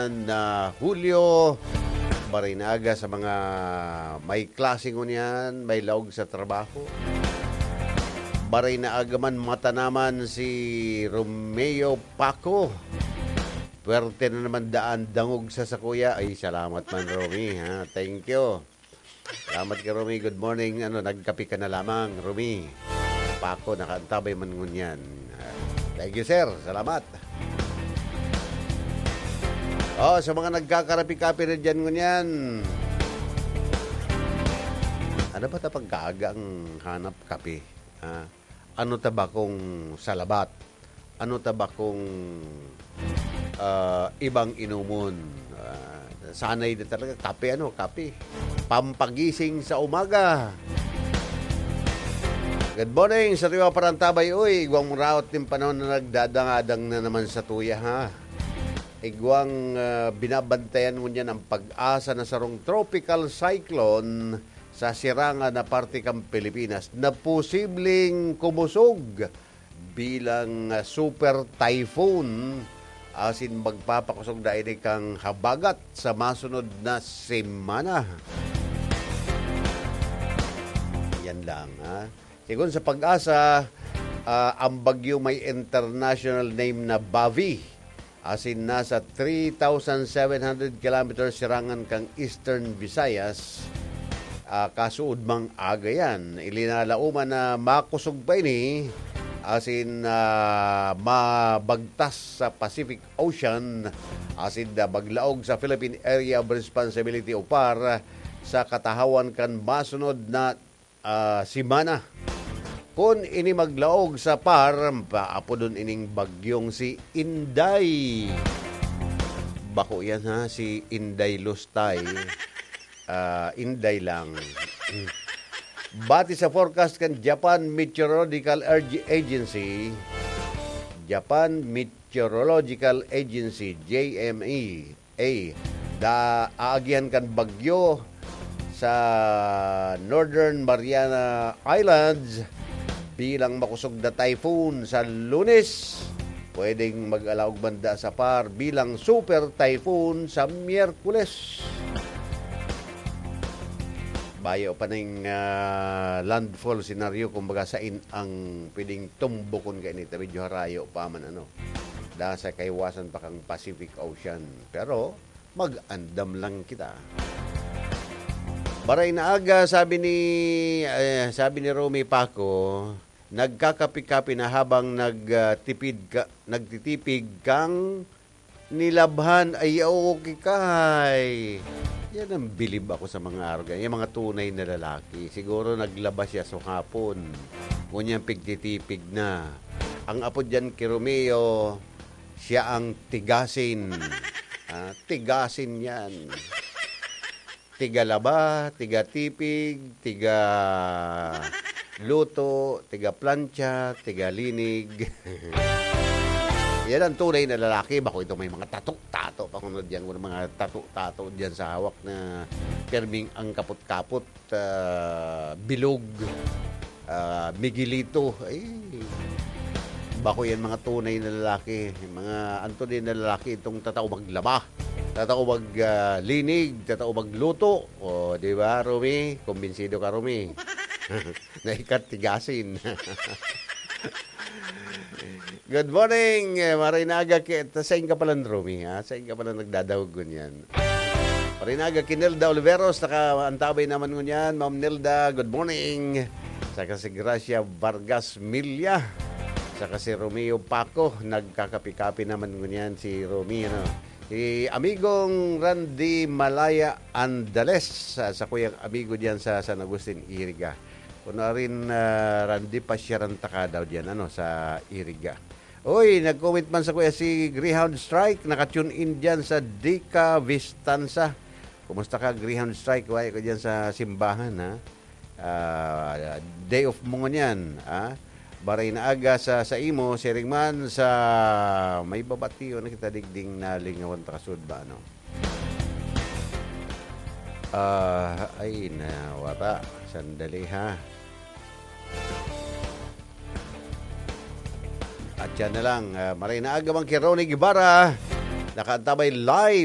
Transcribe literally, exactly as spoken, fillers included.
na Julio. Baray na aga sa mga may klase ngunyan, may laog sa trabaho. Baray na aga man matanaman si Romeo Paco. Pwerte na naman daan dangog sa sakuya. Ay, salamat man, Romy, ha? Thank you. Salamat ka, Romy. Good morning. Ano, nagkape ka na lamang, Romy? Paco, nakaantabay man ngunyan. Ah, thank you, sir. Salamat. Oh, sa mga nagkakarapi-kape na dyan ngunyan, ano ba ta pagkaaga ang hanap kape? Ah, ano ta ba kung salabat? Ano ta ba kung, ah, ibang inomon? Ah, sanay na talaga, kape, ano, kape. Pampagising sa umaga. Good morning, sa Tiwa Parantabay. Uy, igwang mong raot nin panahon na nagdadangadang na naman sa tuya, ha? Igwang, ah, binabantayan mo niyan ang pag-asa na sarong tropical cyclone sa sirangan na parte kan Pilipinas na posibleng kumusog bilang, ah, super typhoon asin magpapakosog na ini kan habagat sa masunod na semana. Yan lang, ha? Sigon sa PAGASA, ah, ang bagyo may international name na Bavi, asin nasa three thousand seven hundred kilometers sirangan kan Eastern Visayas, ah, kasuodmang aga yan. Ilinalauman na makosog pa ini, asin, ah, mabagtas sa Pacific Ocean, asin na maglaog sa Philippine Area of Responsibility o PAR sa katahawan kan masunod na, ah, semana. Kun ini maglaog sa PAR, paapodon ining bagyong si Inday. Bako yan, ha, si Inday Lustay. Ah, Inday lang. Bati sa forecast kan Japan Meteorological Erg-, Agency, Japan Meteorological Agency, J M E A, da-, aagihan kan bagyo sa Northern Mariana Islands bilang makosog na typhoon sa Lunes. Pwedeng mag-alaog banda sa PAR bilang super typhoon sa Miyerkules. Bayo pa ning, ah, landfall scenario, kumbaga, sain ang pwedeng tumbokon kaini ta, medyo harayo pa man, ano. Da sa kaiwasan pa kang Pacific Ocean. Pero, mag-andam lang kita. Baray na aga, sabi ni, eh, sabi ni Romy Paco, nagkakapi-kapi na habang nag, ah, tipid ka, nagtitipig kang nilabhan. Ay, okay kay. Yan ang bilib ako sa mga arog. Yung mga tunay na lalaki. Siguro naglaba siya sa hapon. Ngunyan pigtitipig na. Ang apo dyan kay Romeo, siya ang tigasin. Ah, tigasin yan. Tigalaba, tigatipig, tigaluto, tigaplantsa, tigalinig. Yan ang tunay na lalaki. Bako ito may mga tato-tato pa kuno diyan, mga tato-tato diyan sa hawak na perming ang kapot-kapot, ah, bilog, ah, Miguelito. Ay, bako yan mga tunay na lalaki. Mga anto din na lalaki itong tatao maglaba. Tatao mag, ah, linig, tatao magluto. O, di ba, Romy? Kumbinsido ka, Romy. Na ikat tigasin. Good morning, eh, maray na aga ki-, ta-, sain ka pala, Romy, ha? Sain ka pala nagdadahog ngunyan? Maray na aga ki Nelda Oliveros, nakaantabay naman ngunyan. Ma'am Nelda, good morning. Saka si Gracia Vargas Milla. Saka si Romeo Paco, nagkakapi-kapi naman ngunyan si Romy, ano? Si amigong Randy Malaya Andales, sa, sa kuyang amigo diyan sa San Agustin, Iriga. Kuno arin, ah, Randy, pasyaran ta ka daw diyan, ano, sa Iriga. Oy, nag-comment man sa kuya si Greyhound Strike, naka-tune in diyan sa Dica Vistanza. Kumusta ka, Greyhound Strike? Wala ka diyan sa simbahan, ha? Ah, day off mo ngunyan, ah. Baray na aga sa, sa imo, siring man sa may babatiyon na kita digding nalingawan ta kasud ba, ano? Ah, ay, nawara. Sandali, ha. At yan na lang, ah, maray na aga man kay Ronnie Guevara. Nakaantabay live